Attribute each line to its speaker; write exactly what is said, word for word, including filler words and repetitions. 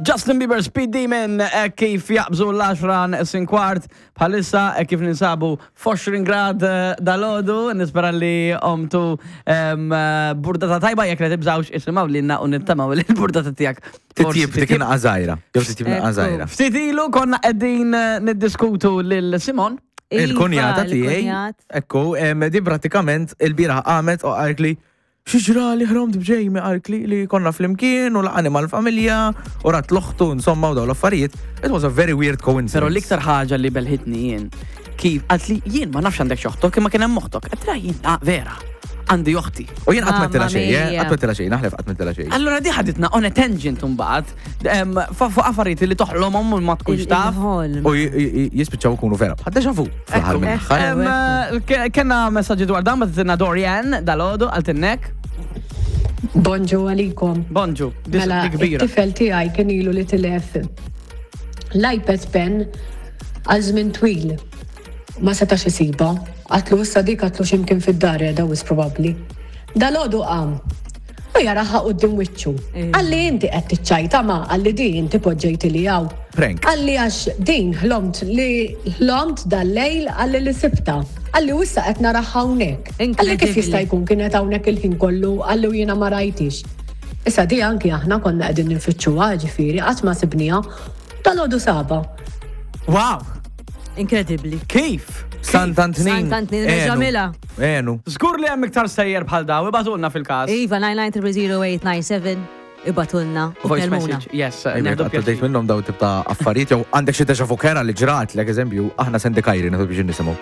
Speaker 1: Justin Bieber, Speed Demon, eh, kif jaqbżu l-għaxra neqsin kwart, bħalissa eh, kif ninsabu f'għoxrin grad eh, dalgħodu, nispera li qomtu em, eh, burdata tajba. Jekk li tibżawx, isimgħu lilna u nittamaw li l-burdata tiegħek
Speaker 2: Titjib dik naqra żgħira. Jew titjib naqra żgħira.
Speaker 1: Ftit ilu konna qegħdin eh, niddiskutu lil Simon.
Speaker 2: Il-kunjata
Speaker 3: Iva,
Speaker 2: tiegħi.
Speaker 3: il-kunjat.
Speaker 2: Ekku, em, di pratikament il-bieraħ qamet u qaltli, "X'ġara li ħromt b'Jamie?" Qaltli li konna flimkien u laqani mal-familja u rat l-oħtu, insomma, u daw l-affarijiet. It was a very weird coincidence.
Speaker 1: Pero l-iktar ħaġa li belħitni jien, kif qaltli, "Jien ma nafx għandek x'oħtok, imma kien hemm oħtok." Għedtilha, "Jien, ah, vera, għandi oħti."
Speaker 2: U jien qatt m'għedtilha
Speaker 3: Mamma
Speaker 2: xejn, eh?
Speaker 3: mia.
Speaker 2: Qatt m'għedtilha xejn, naħlef qatt m'għedtilha xejn.
Speaker 1: Allora di ħaditna on a tangent mbagħad em, fa- fuq affarijiet li toħlomhom u ma tkunx taf.
Speaker 3: Il-ħolm.
Speaker 2: U j- j- jispiċċaw ikunu vera. Bħal deja vu fl-aħħar
Speaker 1: Ekku.
Speaker 2: mill-aħħar.
Speaker 1: Em, eh, ke- Kenna messaġġi dwar dan, bagħtilna Dorian dalgħodu, qaltilna.
Speaker 4: Bonġu għalikom.
Speaker 1: Bonġu, dis
Speaker 4: Mela,
Speaker 1: di kbira.
Speaker 4: it-tifel tiegħi kien ilu li tilef l-iPad pen għal żmien twil. Ma setax isibha. Għedtlu issa dik, għedtlu, x'imkien fid-dar qiegħda wis probabbli. Dalgħodu qam. U jaraha quddiem wiċċu.
Speaker 3: Eh.
Speaker 4: Qalli, "Inti qed tiċċajta ma," qalli, "di inti poġġejt li hawn."
Speaker 2: Prank.
Speaker 4: Qalli, "Għax din ħlomt li ħlomt dal-lejl," qalli, "li sibtha." Qalli, "U issa qed naraha hawnhekk." Qalli, "Kif
Speaker 3: Incredibly.
Speaker 4: jista' jkun kienet hawnhekk il-ħin kollu?" Qalli, "U jiena ma rajtix." Issa di anki aħna konna qegħdin ninfittxuha, ġifieri qatt ma sibniha. Dalgħodu sabha.
Speaker 1: Wow,
Speaker 3: Incredibly.
Speaker 1: kif?
Speaker 2: Sant'Antnin.
Speaker 3: Sant'Antnin, reġa' mila.
Speaker 2: Enu.
Speaker 1: Żgur li hemm iktar stejjer bħal daw, ibagħtulna fil-każ.
Speaker 3: Iva, nine nine zero zero eight nine seven, ibagħtulna u
Speaker 1: Voice
Speaker 3: kellmuna.
Speaker 1: message, yes,
Speaker 2: Ejja,
Speaker 1: nieħdu
Speaker 2: għattu dejt
Speaker 1: pjaċir.
Speaker 2: minnhom daw tip ta' affarijiet jew għandek xi deja vu kera li ġrat, l eżempju, aħna sendi kajri, nieħdu biex nisimgħu.